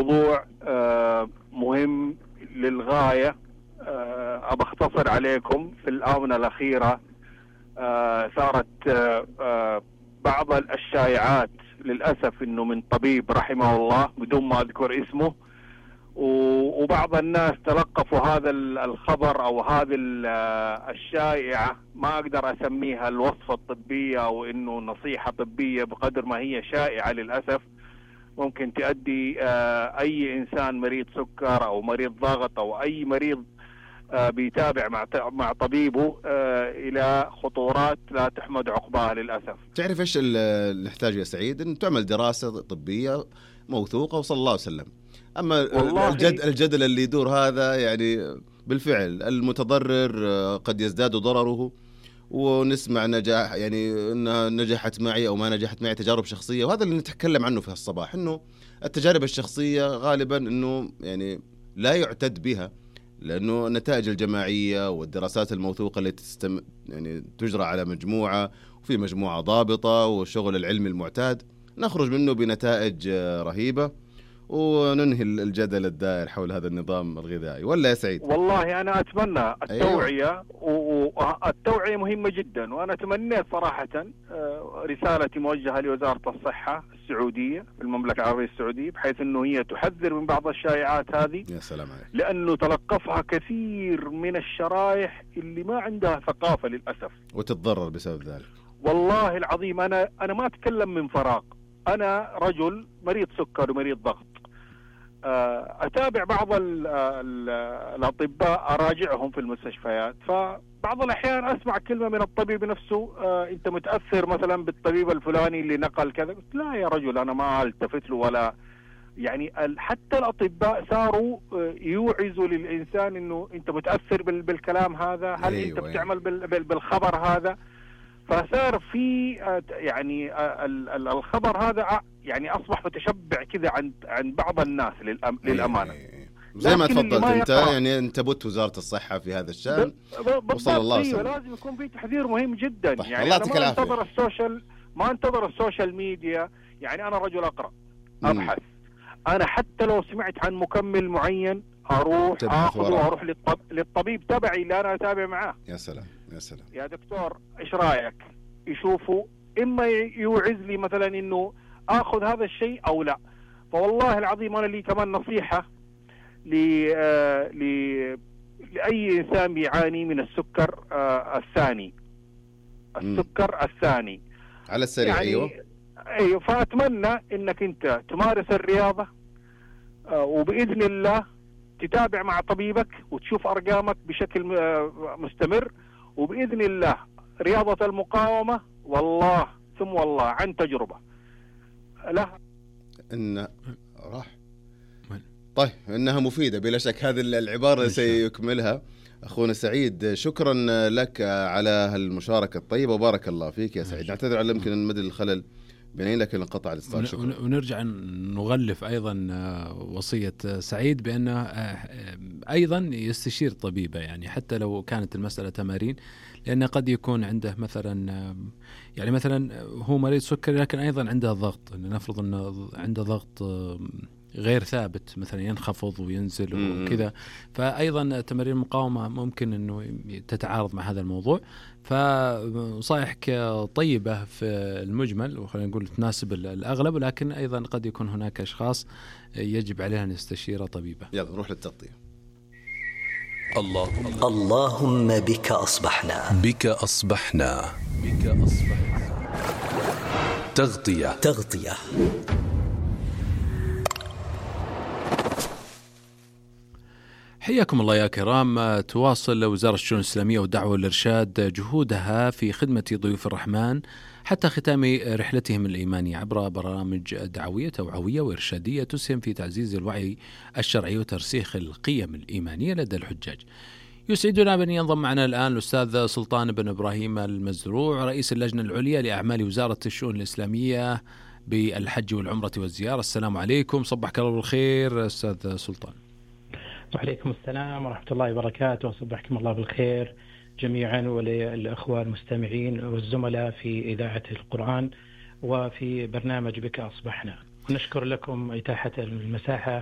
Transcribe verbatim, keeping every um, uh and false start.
موضوع آه مهم للغاية. آه أبى أختصر عليكم. في الآونة الأخيرة آه صارت آه آه بعض الشائعات للأسف إنه من طبيب رحمه الله بدون ما أذكر اسمه، وبعض الناس تلقفوا هذا الخبر أو هذه الشائعة، ما أقدر أسميها الوصفة الطبية أو إنه نصيحة طبية بقدر ما هي شائعة للأسف. ممكن تؤدي أي إنسان مريض سكر أو مريض ضغط أو أي مريض بيتابع مع مع طبيبه إلى خطورات لا تحمد عقباها للأسف. تعرف إيش اللي نحتاج يا سعيد؟ إن تعمل دراسة طبية موثوقة وصلى الله وسلم. أما الجد الجدل اللي يدور هذا يعني بالفعل المتضرر قد يزداد ضرره، ونسمع نجاح يعني إنها نجحت معي أو ما نجحت معي تجارب شخصية، وهذا اللي نتكلم عنه في الصباح، إنه التجارب الشخصية غالبا إنه يعني لا يعتد بها، لأنه النتائج الجماعية والدراسات الموثوقة اللي تستم يعني تجرى على مجموعة وفي مجموعة ضابطة والشغل العلمي المعتاد نخرج منه بنتائج رهيبة وننهي الجدل الدائر حول هذا النظام الغذائي. ولا يا سعيد؟ والله أنا أتمنى التوعية. أيوة. والتوعية مهمة جدا، وأنا تمنيت صراحة رسالتي موجهة لوزارة الصحة السعودية في المملكة العربية السعودية، بحيث أنه هي تحذر من بعض الشائعات هذه. يا سلام عليك. لأنه تلقفها كثير من الشرائح اللي ما عندها ثقافة للأسف، وتتضرر بسبب ذلك. والله العظيم أنا أنا ما أتكلم من فراغ. أنا رجل مريض سكر ومريض ضغط، أتابع بعض ال ال الأطباء، أراجعهم في المستشفيات، فبعض الأحيان أسمع كلمة من الطبيب نفسه: أنت متأثر مثلا بالطبيب الفلاني اللي نقل كذا. لا يا رجل، أنا ما ألتفت له ولا يعني. حتى الأطباء صاروا يوعزوا للإنسان إنه أنت متأثر بالكلام هذا، هل أيوة أنت بتعمل بالخبر هذا؟ فصار في يعني الخبر هذا يعني أصبح متشبع كذا عند عند بعض الناس للأمانة. زي ما تفضلت أنت، يعني أنت بوت وزارة الصحة في هذا الشأن، وصلى الله وسلم. لازم يكون في تحذير مهم جدا. طيب. يعني أنا ما انتظر السوشيال ما انتظر السوشيال ميديا. يعني أنا رجل أقرأ أبحث. أنا حتى لو سمعت عن مكمل معين أروح أخذه وأروح للطب... للطبيب تبعي اللي أنا أتابع معاه. يا سلام يا سلام يا دكتور إيش رأيك؟ يشوفوا إما يوعز لي مثلا إنه أخذ هذا الشيء أو لا. فوالله العظيم أنا لي كمان نصيحة ل... آه... ل... لأي إنسان بيعاني من السكر آه الثاني. السكر م. الثاني على السريع. يعني أيوه أيوه. فأتمنى إنك أنت تمارس الرياضة، آه وبإذن الله تتابع مع طبيبك وتشوف أرقامك بشكل آه مستمر، وبإذن الله رياضة المقاومة والله ثم والله عن تجربة لها إن راح طيب إنها مفيدة بلا شك. هذه العبارة سيكملها أخونا سعيد. شكرا لك على هالمشاركة الطيبة وبارك الله فيك يا سعيد. نعتذر على يمكن المدى الخلل بينين لكن انقطع الاتصال. شكرا. ونرجع نغلف أيضا وصية سعيد بأنه أيضا يستشير طبيبه، يعني حتى لو كانت المسألة تمارين، لأنه قد يكون عنده مثلا يعني مثلا هو مريض سكري لكن أيضا عنده ضغط. نفرض أنه عنده ضغط غير ثابت مثلا ينخفض وينزل وكذا، فأيضا تمارين المقاومة ممكن أنه تتعارض مع هذا الموضوع. فصائحك طيبة في المجمل وخلينا نقول تناسب الأغلب، ولكن أيضا قد يكون هناك أشخاص يجب عليها أن يستشير طبيبه. يلا نروح للتغطية. الله اللهم بك أصبحنا بك أصبحنا بك أصبحنا تغطية تغطية حياكم الله يا كرام. تواصل وزارة الشؤون الإسلامية والدعوة والإرشاد جهودها في خدمة ضيوف الرحمن حتى ختام رحلتهم الإيمانية عبر برامج دعوية توعوية وإرشادية تسهم في تعزيز الوعي الشرعي وترسيخ القيم الإيمانية لدى الحجاج. يسعدنا بأن ينضم معنا الآن الأستاذ سلطان بن إبراهيم المزروع، رئيس اللجنة العليا لأعمال وزارة الشؤون الإسلامية بالحج والعمرة والزيارة. السلام عليكم، صبحك الله بالخير أستاذ سلطان. وعليكم السلام ورحمة الله وبركاته، وصبحكم الله بالخير جميعا وللأخوة المستمعين والزملاء في إذاعة القرآن وفي برنامج بك أصبحنا. ونشكر لكم إتاحة المساحة